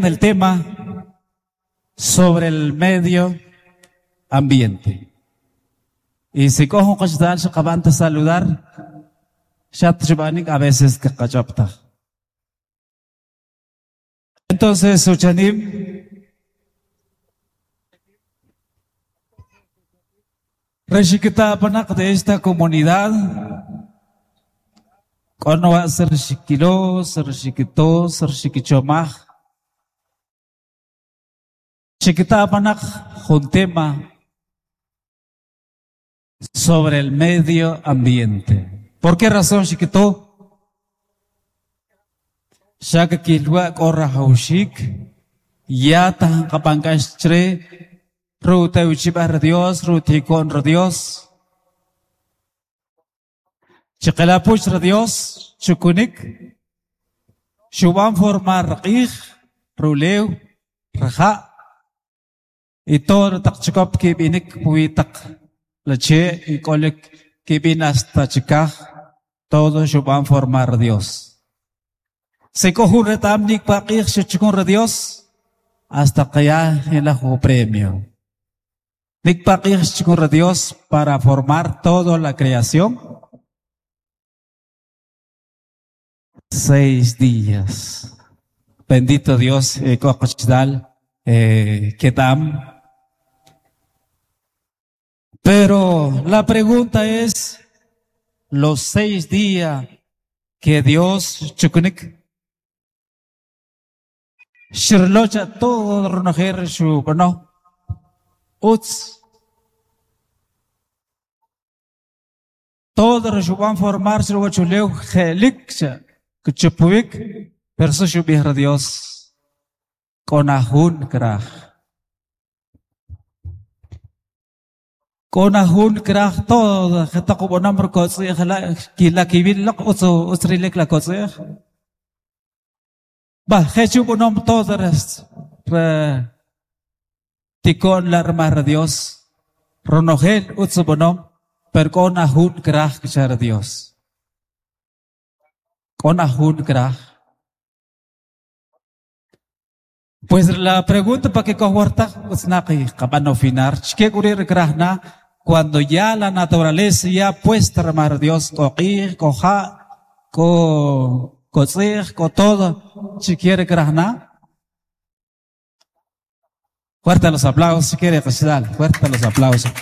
en el tema sobre el medio ambiente. Y si cojo un saludar, a veces que Entonces, Uchanim, Reshikita panak de esta comunidad, kono va a ser shikilo, ser shikito, ser shikichomaj. Chiquita panak un tema sobre el medio ambiente. ¿Por qué razón, chiquito? Shaka kilwa korra haushik, ya tan kapankashtre, ruta uchibar Dios, rutikon Dios. Chiqelapuch Dios, chukunik, shuban formar rqij, ruleu, raja, y todo taq kibinik puitaq la che y kolek kibin hasta chikaj, todo shuban formar Dios. Se cojo retamnik paqij shuchukun Dios, hasta que ya el premio. Nik paqij shuchukun Dios para formar toda la creación. 6 días. Bendito Dios, Ketam. Pero la pregunta es, los 6 días que Dios chukunik, shirlocha todo ronojer shu, no, uts, todo reshuban formar shirwachuleu jelik, kuchupuik, pero eso Dios, con ajun kraj. Con ajun kraj todo, jeta kubonam kotzij, la kila kibil lak utsu utsrilek la kotzij. Ba, jechu bonom todo res, re, tikon la armar Dios, ronogel utsu bonom, per con ajun kraj kchar Dios. Con ajun kraj. Pues la pregunta para que cojuarta, utsnaqi qabano finar, chke kurir krajna, cuando ya la naturaleza ya puesta armar Dios, koqij, koja, ko, kotzij, ko todo, si quiere krajna. Fuerte los aplausos, si quiere, fuerte los aplausos.